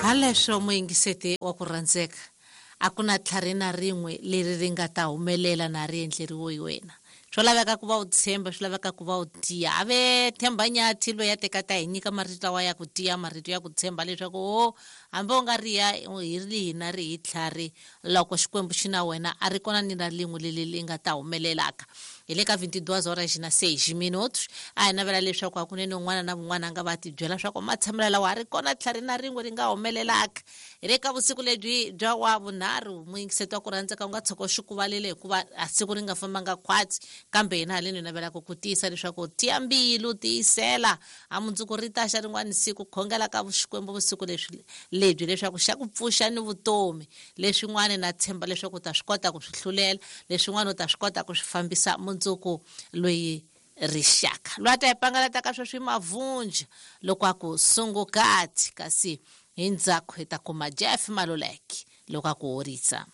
Haleswo muyingiseti wa ku rhandzeka, a ku na tlhari na rin'we leri ri nga ta humelela na ri endleriwe hi wena. Swo laveka ku va u tshemba, swi laveka ku va u tiya. A ve Themba Nyathi loyi a teka ta hi nyika marito lawa ya ku tiya, marito ya ku tshemba leswaku o hambi u nga riya hi rihi na rihi tlhari, loko Xikwembu xi na wena a ri kona ni na rin'we leri ri nga ta humelelaka. Hi le ka 22 horas na 6 minutos. A hi navela leswaku hakunene un'wana na un'wana a nga va ti byela swa ku matshamelo lawa a ri kona tlhari na rin'we ri nga humelelaka. Hi le ka vusiku lebyi bya wa vunharhu, muyingiseti wa ku rhandzeka u nga tshuka u xi kuvalile hikuva a siku ri nga fambanga khwatsi, kambe hina haleni hi navelaka ku tiyisa leswaku tiya mbilu, tiyisela, a mundzuku ri ta xa rin'wana siku. Khongela ka Xikwembu vusiku leswi lebyi leswaku xa ku pfuxa ni vutomi. Leswin'wana na tshemba leswaku u ta swi kota ku swi hlulela, leswin'wana u ta swi kota ku swi fambisa mundzuku loyi rixaka. Loyi a ta hi pangalata ka sweswi i Mavunja loko a ku sungukati, kasi hi ndzhaku hi ta kuma Jeff Maluleke loko a ku horisa.